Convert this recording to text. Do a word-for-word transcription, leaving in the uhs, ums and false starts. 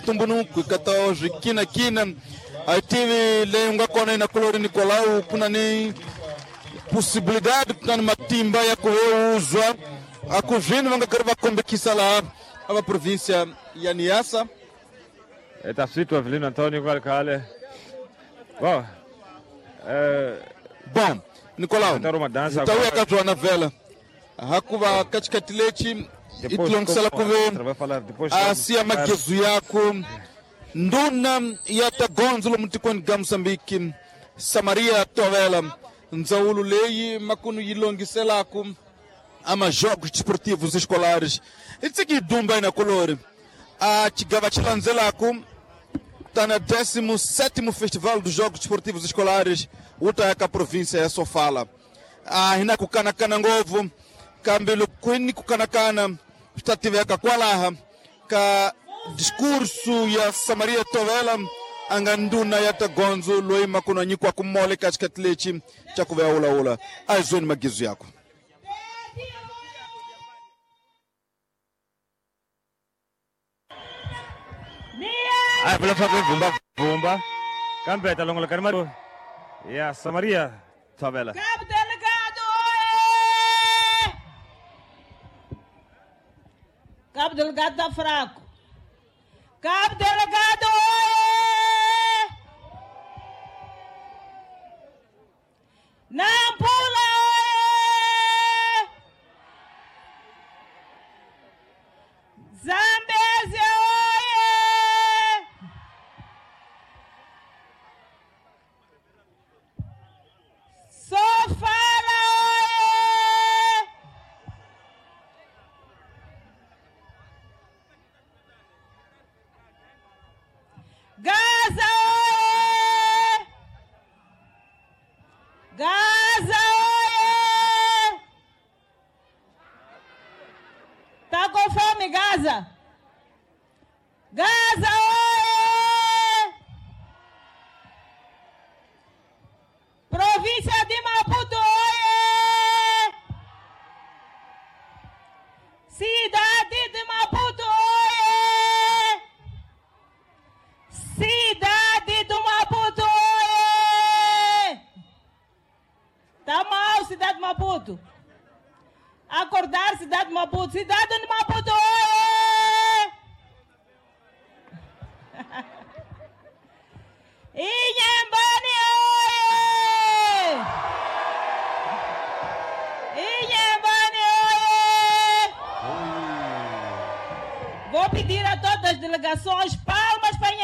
ntumbuluko ka ta swikinakina a tivi leyi nga kona Inakulori Nicolau ku na ni possibilidade ku na ni matimba ya ku veuzwa a ku zvino va nga karhi va kombekisa laha a va província ya Niassa. Eta swi twa Evelino Antonio kwale khale. Bom, eh, bom Nicolau uma dança ta wuya ka byona vhela hakuva ka xikhathi lexi i tilongisela ku ve vai falar depois a siya magezu yaku nduna ya ta gondzo lomu tikweni ga Moçambique Samaria Tovela ndzawulo leyi makunu yi longiselaku ama jogos desportivos escolares i tsiki dumba Inakulori a xigava xi landzelaku tá na décimo sétimo Festival dos Jogos Desportivos Escolares wu ta ya ka província ya Sofala. A hi na ku kanakana ngopfu kambe loko ku ni ku kanakana swi ta tiveka kwalaha ka discurso ya Samaria Tovela a nga nduna ya ta gondzo loyi makunu a nyikiwaka mole ka xikhathi lexi xa ku va ya wulawula. A hi zweni magizu yakwe. A vula swa ku vumba vumba kambe ta longoloka ni mali ya Samaria Tovela. Cabo Delgado, oê! Cabo Delgado tá fraco. Cabo Delgado, oê! Nampula, oê! Zambézia, oê! Sofala, oê! Gaza, oê! Gaza, oê! Tá com fome, Gaza? Gaza, oê! Província de Maputo, oê! Cidade de Maputo, oê! Cidade do Maputo, oê! Tá mal, cidade de Maputo. Acordar, cidade de Maputo. Cidade de Maputo, oê! Inhambane, oê! Inhambane, oê! Vou pedir a todas as delegações palmas para